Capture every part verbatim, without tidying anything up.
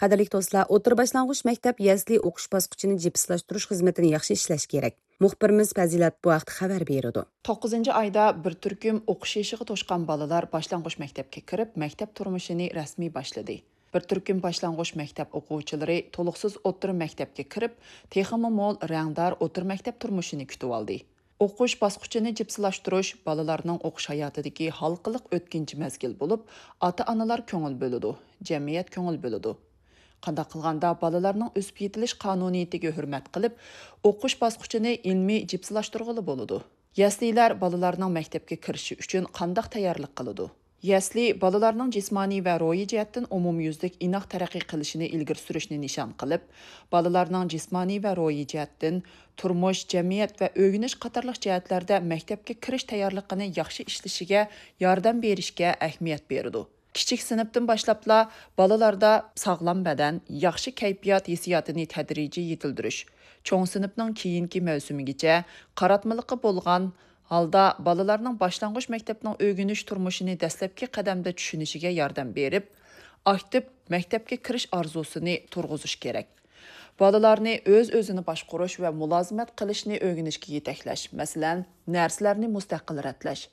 قەدىرلىك دوستلار، ئوتتۇرا باشلانغۇچ مەكتەپ يەسلى ئوقۇش باسقۇچىنى جىپسىلاشتۇرۇش خىزمىتىنى ياخشى ئىشلەش كېرەك. مۇخبىرىمىز پەزىلەت بۇ ھەقتە خەۋەر بېرىدۇ. توققۇزىنچى ئايدا بىر تۈركۈم ئوقۇش يېشىغا توشقان بالىلار باشلانغۇچ مەكتەپكە كىرىپ، مەكتەپ تۇرمۇشىنى رەسمىي باشلىدى. بىر تۈركۈم باشلانغۇچ مەكتەپ ئوقۇغۇچىلىرى تولۇقسىز ئوتتۇرا مەكتەپكە كىرىپ، تېخىمۇ مول رەڭدار ئوتتۇرا مەكتەپ تۇرمۇشىنى كۈتۈۋالدى. ئوقۇش باسقۇچىنى جىپسىلاشتۇرۇش بالىلارنىڭ ئوقۇش ھاياتىدىكى ھالقىلىق ئۆتكۈنچى مەزگىل بولۇپ، ئاتا-ئانىلار كۆڭۈل بۆلىدۇ، جەمئىيەت كۆڭۈل بۆلىدۇ. قانداق قىلغاندا بالىلارنىڭ ئۆسۈپ يېتىلىش قانۇنىيىتىگە ھۆرمەت قىلىپ، ئوقۇش باسقۇچىنى ئىلمىي جىپسىلاشتۇرغىلى بولىدۇ؟ يەسلىلەر بالىلارنىڭ مەكتەپكە كىرىشى ئۈچۈن قانداق تەييارلىق قىلىدۇ؟ يەسلى بالىلارنىڭ جىسمانىي ۋە روھىي جەھەتتىن ئومۇميۈزلۈك ئىناق تەرەققىي قىلىشىنى ئىلگىرى سۈرۈشنى نىشان قىلىپ، بالىلارنىڭ جىسمانىي ۋە روھىي جەھەتتىن تۇرمۇش، جەمئىيەت ۋە ئۆگىنىش قاتارلىق جەھەتلەردە مەكتەپكە كىرىش تەييارلىقىنى ياخشى ئىشلىشىگە ياردەم بېرىشكە ئەھمىيەت بېرىدۇ. كىچىك سىنىپتىن باشلاپلا بالىلاردا ساغلام بەدەن، ياخشى كەيپىيات ھېسسىياتىنى تەدرىجىي يېتىلدۈرۈش، چوڭ سىنىپنىڭ كېيىنكى مەۋسۇمىگىچە قاراتمىلىقى بولغان ھالدا بالىلارنىڭ باشلانغۇچ مەكتەپنىڭ ئۆگىنىش تۇرمۇشىنى دەسلەپكى قەدەمدە چۈشىنىشىگە ياردەم بېرىپ، ئاكتىپ مەكتەپكە كىرىش ئارزۇسىنى تۇرغۇزۇش كېرەك. بالىلارنى ئۆز-ئۆزىنى باشقۇرۇش ۋە مۇلازىمەت قىلىشنى ئۆگىنىشكە يېتەكلەش، مەسىلەن، نەرسىلەرنى مۇستەقىل رەتلەش،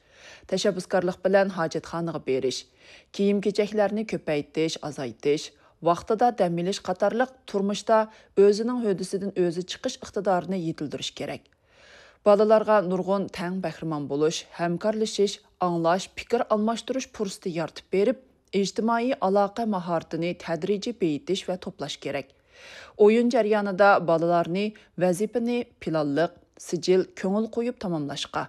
تەشەببۇسكارلىق بىلەن ھاجەتخانىغا بېرىش، كىيىم-كېچەكلەرنى كۆپەيتىش، ئازايتىش، ۋاقتىدا دەم ئېلىش قاتارلىق تۇرمۇشتا ئۆزىنىڭ ھۆددىسىدىن ئۆزى چىقىش ئىقتىدارىنى يېتىلدۈرۈش كېرەك. بالىلارغا نۇرغۇن تەڭ بەھرىمەن بولۇش، ھەمكارلىشىش، ئاڭلاش، پىكىر ئالماشتۇرۇش پۇرسىتى يارىتىپ بېرىپ، ئىجتىمائىي ئالاقە ماھارىتىنى تەدرىجىي بېيىتىش ۋە توپلاش كېرەك. ئويۇن جەريانىدا بالىلارنى ۋەزىپىنى پىلانلىق، سىجىل، كۆڭۈل قويۇپ تاماملاشقا،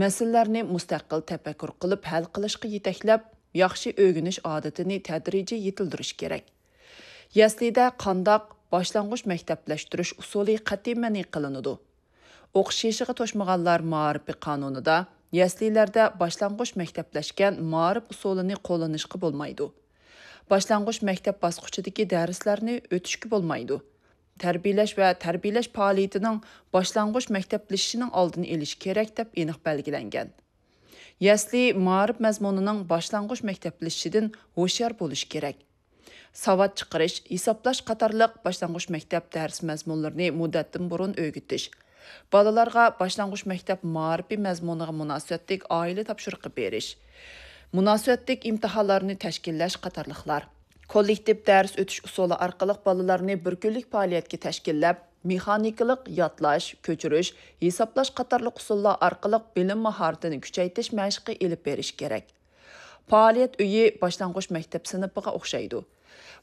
مەسىلىلەرنى مۇستەقىل تەپەككۇر قىلىپ ھەل قىلىشقا يېتەكلەپ، ياخشى ئۆگىنىش ئادىتىنى تەدرىجىي يېتىلدۈرۈش كېرەك. يەسلىدە قانداق باشلانغۇچ مەكتەپلەشتۈرۈش ئۇسۇلى قەتئىي مەنئى قىلىنىدۇ؟ ئوقۇش يېشىغا توشمىغانلار مائارىپى قانۇنىدا يەسلىلەردە باشلانغۇچ مەكتەپلەشكەن مائارىپ ئۇسۇلىنى قوللىنىشقا بولمايدۇ. باشلانغۇچ مەكتەپ باسقۇچىدىكى دەرسلەرنى ئۆتۈشكە بولمايدۇ. تەربىيەلەش ۋە تەربىيەلەش پائالىيىتىنىڭ باشلانغۇچ مەكتەپلىشىشىنىڭ ئالدىنى ئېلىش كېرەك، دەپ ئېنىق بەلگىلەنگەن. يەسلى مائارىپ مەزمۇنىنىڭ باشلانغۇچ مەكتەپلىشىشىدىن ھوشيار بولۇش كېرەك. ساۋات چىقىرىش، ھېسابلاش قاتارلىق باشلانغۇچ مەكتەپ دەرس مەزمۇنلىرىنى مۇددەتتىن بۇرۇن ئۆگىتىش، بالىلارغا باشلانغۇچ مەكتەپ مائارىپى مەزمۇنىغا مۇناسىۋەتلىك ئائىلە تاپشۇرۇقى بېرىش، مۇناسىۋەتلىك ئىمتىھانلارنى تەشكىللەش قاتارلىقلار. كوللېكتىپ دەرس ئۆتۈش ئۇسۇلى ئارقىلىق بالىلارنى بىر كۈنلۈك پائالىيەتكە تەشكىللەپ، مېخانىكىلىق يادلاش، كۆچۈرۈش، ھېسابلاش قاتارلىق ئۇسۇللار ئارقىلىق بىلىم ماھارىتىنى كۈچەيتىش مەشقى ئېلىپ بېرىش كېرەك. پائالىيەت ئۆيى باشلانغۇچ مەكتەپ سىنىپىغا ئوخشايدۇ.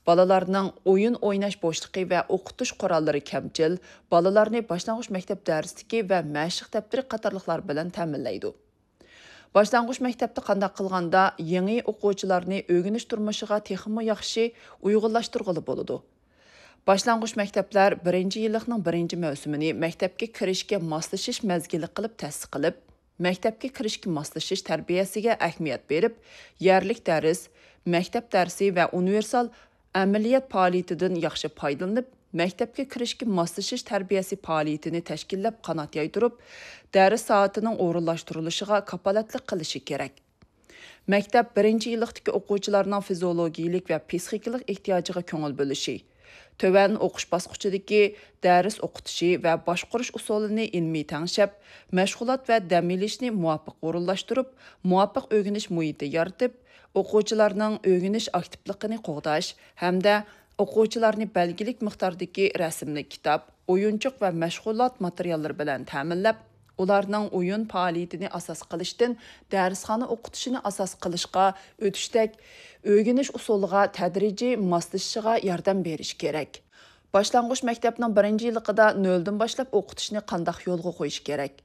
بالىلارنىڭ ئويۇن ئويناش بوشلۇقى ۋە ئوقۇتۇش قوراللىرى كەمچىل، بالىلارنى باشلانغۇچ مەكتەپ دەرسلىكى ۋە مەشىق دەپتىرى قاتارلىقلار بىلەن تەمىنلەيدۇ. باشلانغۇچ مەكتەپتە قانداق قىلغاندا يېڭى ئوقۇغۇچىلارنى ئۆگىنىش تۇرمۇشىغا تېخىمۇ ياخشى ئۇيغۇنلاشتۇرغىلى بولىدۇ؟ باشلانغۇچ مەكتەپلەر بىرىنچى يىللىقنىڭ بىرىنچى مەۋسۇمىنى مەكتەپكە كىرىشكە ماسلىشىش مەزگىلى قىلىپ تەسىس قىلىپ، مەكتەپكە كىرىشكە ماسلىشىش تەربىيەسىگە ئەھمىيەت بېرىپ، يەرلىك دەرس، مەكتەپ دەرسى ۋە ئۇنىۋېرسال ئەمەلىيەت پائالىيىتىدىن ياخشى پايدىلىنىپ، مەكتەپكە كىرىشكە ماسلىشىش تەربىيەسى پائالىيىتىنى تەشكىللەپ قانات يايدۇرۇپ، دەرس سائىتىنىڭ ئورۇنلاشتۇرۇلۇشىغا كاپالەتلىك قىلىشى كېرەك. مەكتەپ بىرىنچى يىللىقتىكى ئوقۇغۇچىلارنىڭ فىزىئولوگىيىلىك ۋە پسىخىكىلىق ئېھتىياجىغا كۆڭۈل بۆلۈشى، تۆۋەن ئوقۇش باسقۇچىدىكى دەرس ئوقۇتۇشى ۋە باشقۇرۇش ئۇسۇلىنى ئىلمىي تەڭشەپ، مەشغۇلات ۋە دەم ئېلىشنى مۇۋاپىق ئورۇنلاشتۇرۇپ، مۇۋاپىق ئۆگىنىش مۇھىتى يارىتىپ، ئوقۇغۇچىلارنىڭ ئۆگىنىش ئاكتىپلىقىنى قوغداش ھەمدە ئوقۇغۇچىلارنى بەلگىلىك مىقداردىكى رەسىملىك كىتاب، ئويۇنچۇق ۋە مەشغۇلات ماتېرىياللىرى بىلەن تەمىنلەپ، ئۇلارنىڭ ئويۇن پائالىيىتىنى ئاساس قىلىشتىن دەرسخانا ئوقۇتۇشىنى ئاساس قىلىشقا ئۆتۈشتەك ئۆگىنىش ئۇسۇلىغا تەدرىجىي ماسلىشىشىغا ياردەم بېرىش كېرەك. باشلانغۇچ مەكتەپنىڭ بىرىنچى يىللىقىدا نۆلدىن باشلاپ ئوقۇتۇشنى قانداق يولغا قويۇش كېرەك؟